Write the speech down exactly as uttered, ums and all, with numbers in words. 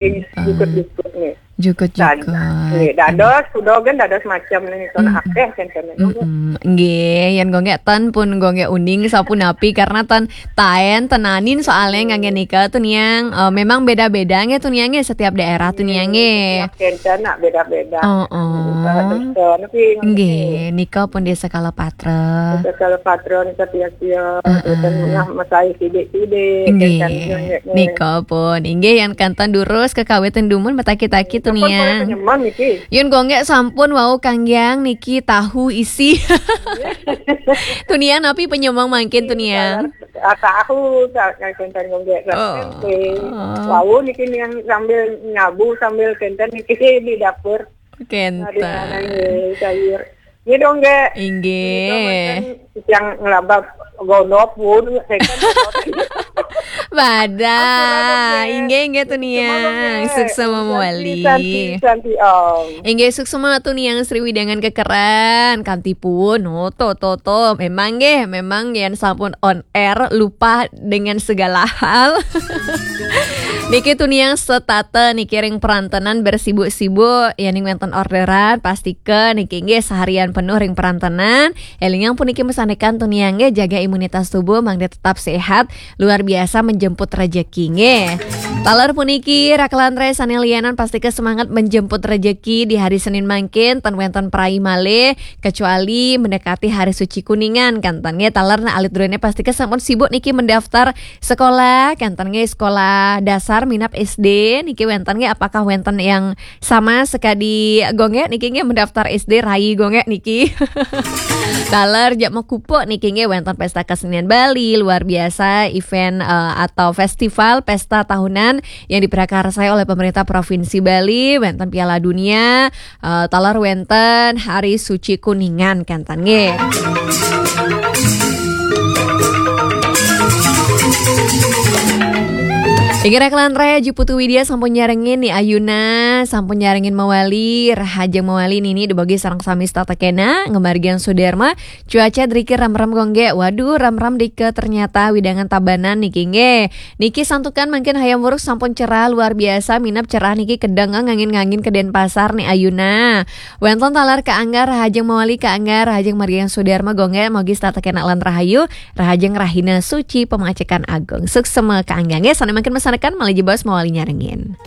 Jukut-jukut nih. Jukut-jukut. Nggih, dados, kuda kan dados macam nih, kono akeh kan. Mm-mm. Nggih, yen Gonggek ten pun Gonggek uning sapunapi karena ten taen tenanin soalnya ngangge nika tuniang. Eh, memang beda-beda nggih tuniang nggih setiap daerah tuniang nggih. Kenten nak beda-beda. Oh, oh. Terus niki Nggih, nika pun di sekala patra. Sekala patron setiap-tiap, Heeh. dan nah masai sidik-sidik. Nggih, Kenten nggih. nika pun. Inggih yang kantan durus kekawitan dumun mataki-taki Sampun tuniang. Penyemang niki. Yun Gonggek sampun wau kanggiang niki tahu isi. Tuniang napi penyemang mangkin tuniang. Ah, tahu tak kenten Gonggek. Oh. Tempe. Wau niki yang sambil nyabu sambil kenten niki di dapur. Ada Kenten. nangis sayur. Ini dong, Gonggek. Inggih. Yang ngelabak gondok pun, saya kan gondok. Bada. Ampun, ampun, Inggih, inggih tuniang. Gonggek. Suksma mawali. Santi, santi, santi, Om. Inggih suksma tuniang Sri Widangan kekeran. Kanti pun, no, to, to, to. Memang nggih, memang yen sampun on air lupa dengan segala hal. Niki tuniang setata niki ring perantenan bersibuk-sibuk, yening wenten orderan, pastika niki nggih seharian penuh ring perantenan. Elingang puniki mesanekan tuniang nggih jaga imunitas tubuh mangda tetap sehat, luar biasa menjemput rejeki nggih. Taler puniki rakelan rai sane lianan pastika semangat menjemput rejeki di hari Senin mangkin, ten wenten prai malih, kecuali mendekati hari suci Kuningan, kan ten nggih. Taler nah alit druene pastika sampun sibuk niki mendaftar sekolah, kan ten nggih, sekolah dasar minab S D niki wenten nggih, apakah wenten yang sama sekadi Gonggek niki nggih mendaftar S D rai Gonggek niki. Taler jak mekupuk niki nggih wenten pesta kesenian Bali luar biasa, event eh, atau festival pesta tahunan yang diprakarsai oleh pemerintah Provinsi Bali, wenten Piala Dunia, eh, taler wenten Hari Suci Kuningan kan ten nggih. Inggih rakelan rai, Aji Putu Widya sampun nyarengin ni ayuna, sampun nyarengin mawali, rahajeng mawali nini dubagi sareng sami setata kena, ngamargiang Sudarma, cuaca driki remrem Gonggek, waduh remrem dika ternyata widangan Tabanan niki nggih. Niki santukan mangkin hayam wuruk sampun cerah luar biasa, minab cerah niki kedeng ngangin-ngangin ke Denpasar ni ayuna. Wenten taler kaangga, rahajeng mawali kaangga, rahajeng margiang Sudarma Gonggek, mogi setata kena lan rahayu, rahajeng rahina suci pemacekan agung. Suksma kaangga nggih, sane mangkin mesanekan malih jebos mawali nyarengin.